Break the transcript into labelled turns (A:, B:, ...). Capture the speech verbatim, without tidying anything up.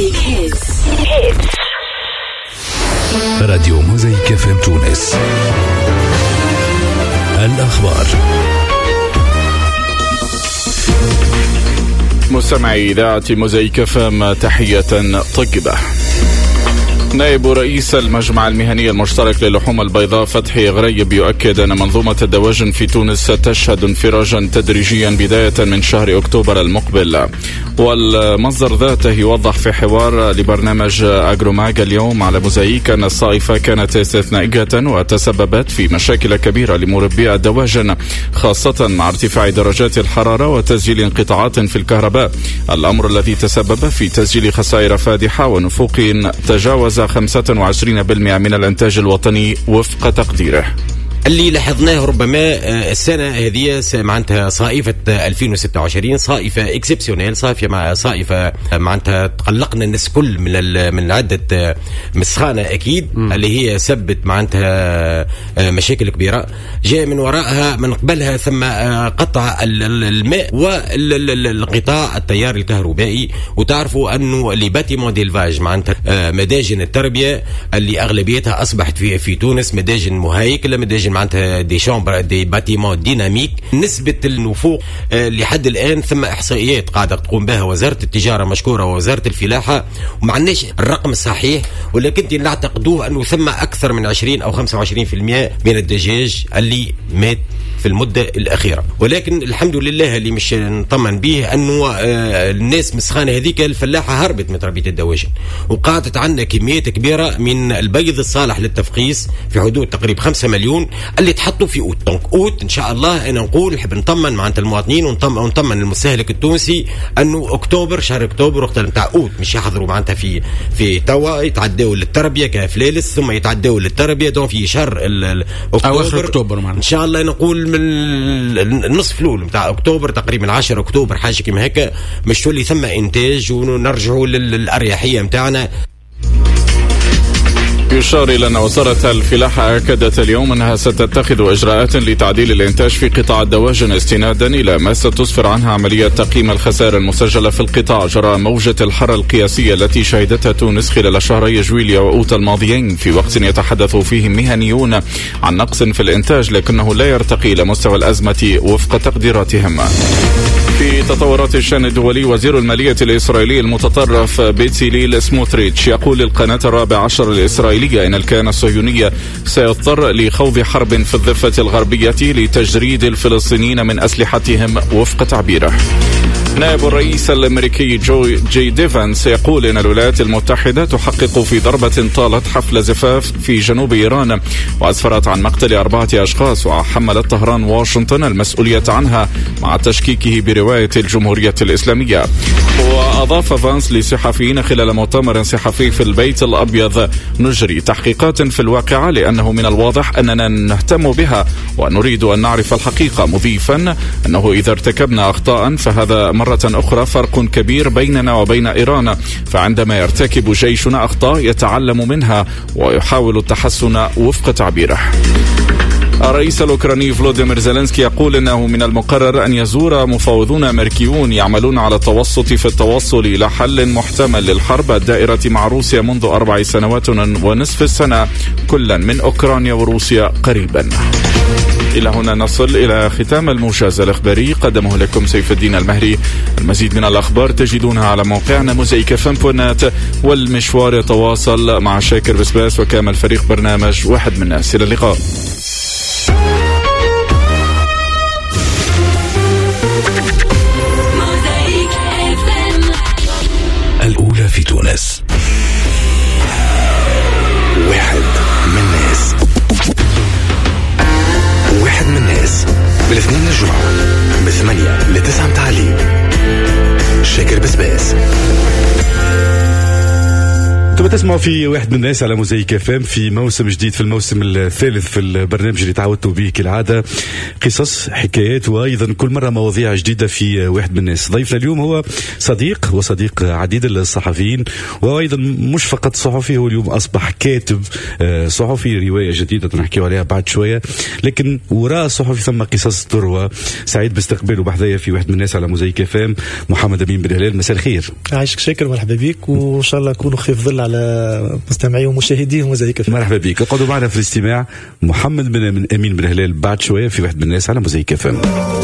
A: موزايك hits.
B: راديو موزايك إف إم تونس، الأخبار.
C: مستمعي إذاعة موزايك إف إم، تحية طيبة. نائب رئيس المجمع المهني المشترك للحوم البيضاء فتحي غريب يؤكد أن منظومة الدواجن في تونس ستشهد انفراجا تدريجيا بداية من شهر أكتوبر المقبل. والمصدر ذاته يوضح في حوار لبرنامج أجروماج اليوم على موزايك أن الصائفة كانت استثنائية وتسببت في مشاكل كبيرة لمربي الدواجن، خاصة مع ارتفاع درجات الحرارة وتسجيل انقطاعات في الكهرباء، الأمر الذي تسبب في تسجيل خسائر فادحة ونفوق تجاوز خمسة وعشرين بالمئة من الإنتاج الوطني وفق تقديره.
D: اللي لاحظناه ربما آه، السنة هذه معناتها صائفه ألفين وستة وعشرين صائفه exceptionnelle، صائفه مع صائفه معناتها تقلقنا الناس كل من من عده آه، من السخانه اكيد م. اللي هي سبت معناتها آه، مشاكل كبيرة جاء من وراءها من قبلها ثم قطع الماء والانقطاع التيار الكهربائي. وتعرفوا انه les bâtiments d'élevage، معناتها مداجن التربية اللي اغلبيتها اصبحت في في تونس مداجن مهيكله، مداجن معناتها des chambres، des bâtiments dynamiques، نسبة النفوق آه، لحد الآن ثم إحصائيات قاعدة تقوم بها وزارة التجارة مشكورة ووزارة الفلاحة وما عندناش الرقم الصحيح، ولكن نعتقدوه أنه ثم أكثر من عشرين أو خمسة وعشرين في المئة من الدجاج اللي مات في المدة الأخيرة. ولكن الحمد لله اللي مش نطمن به أنه آه، الناس من السخانة هذيك الفلاحة هربت من تربية الدواجن، وقعدت عندنا كميات كبيرة من البيض الصالح للتفقيس في حدود تقريبا خمسة مليون اللي تحطوا في أوت. donc أوت إن شاء الله، أنا نقول نحب نطمن معناتها المواطنين ونطمن المستهلك التونسي أنه أكتوبر، شهر أكتوبر وقت نتاع أوت مش يحضروا معناتها في في توا يتعداوا للتربية كفلالس ثم يتعداوا للتربية، donc في شهر
E: أكتوبر، أواخر أكتوبر
D: معناتها ان شاء الله، نقول من النصف الاول نتاع اكتوبر تقريبا، عشرة اكتوبر حاجة كيما هكا، مش تولي ثم انتاج ونرجعوا للاريحيه نتاعنا.
C: يشار إلى أن وزارة الفلاحة أكدت اليوم أنها ستتخذ إجراءات لتعديل الإنتاج في قطاع الدواجن استنادا إلى ما ستسفر عنها عملية تقييم الخسائر المسجلة في القطاع جراء موجة الحر القياسية التي شهدتها تونس خلال شهري جويليا وأوت الماضيين، في وقت يتحدث فيه مهنيون عن نقص في الإنتاج لكنه لا يرتقي إلى مستوى الأزمة وفق تقديراتهم. في تطورات الشأن الدولي، وزير المالية الإسرائيلي المتطرف بيتسيليل سموتريتش يقول للقناة الرابع عشر الإسرائيلية إن الكيان الصهيوني سيضطر لخوض حرب في الضفة الغربية لتجريد الفلسطينيين من أسلحتهم وفق تعبيره. نائب الرئيس الامريكي جو جي دي فانس يقول ان الولايات المتحدة تحقق في ضربه طالت حفل زفاف في جنوب ايران واسفرت عن مقتل اربعة اشخاص، وحملت طهران واشنطن المسؤولية عنها مع تشكيكه برواية الجمهورية الاسلاميه. واضاف فانس للصحفيين خلال مؤتمر صحفي في البيت الابيض: نجري تحقيقات في الواقعة لانه من الواضح اننا نهتم بها ونريد ان نعرف الحقيقه، مضيفا انه اذا ارتكبنا اخطاء فهذا مرة أخرى فرق كبير بيننا وبين إيران، فعندما يرتكب جيشنا أخطاء يتعلم منها ويحاول التحسن وفق تعبيره. الرئيس الأوكراني فلوديمير زيلينسكي يقول إنه من المقرر أن يزور مفاوضون أمريكيون يعملون على التوسط في التوصل إلى حل محتمل للحرب الدائرة مع روسيا منذ أربع سنوات ونصف السنة كلا من أوكرانيا وروسيا قريبا. إلى هنا نصل إلى ختام الموجز الإخباري، قدمه لكم سيف الدين المهري. المزيد من الأخبار تجدونها على موقعنا موزايك إف إم point net، والمشوار يتواصل مع شاكر بسباس وكامل فريق برنامج واحد من الناس. إلى اللقاء.
A: موزايك إف إم.
B: الأولى في تونس، واحد من الناس، واحد من الناس، من الاثنين للجمعة من ثمانية لتسعة متاع الليل، شاكر بسباس.
F: انتم تسمعوا في واحد من الناس على موزايك اف ام في موسم جديد، في الموسم الثالث، في البرنامج اللي تعودتوا به كالعاده، قصص، حكايات، وايضا كل مرة مواضيع جديدة في واحد من الناس. ضيفنا اليوم هو صديق وصديق عديد الصحفيين، وايضا مش فقط صحفي، هو اليوم اصبح كاتب آه، صحفي، رواية جديدة نحكي عليها بعد شويه، لكن وراء الصحفي ثم قصص تروى. سعيد باستقباله بحذايا في واحد من الناس على موزايك اف ام، محمد امين بن هلال. مساء الخير.
G: عايشك شاكر، مرحبا بك، وان شاء الله نكونوا خفيف ظل على مستمعي ومشاهدي موزايك.
F: مرحبا بك، اقعدوا معنا في الاستماع. محمد بن امين بن هلال بعد شوية في واحد من الناس على موزايك اف ام.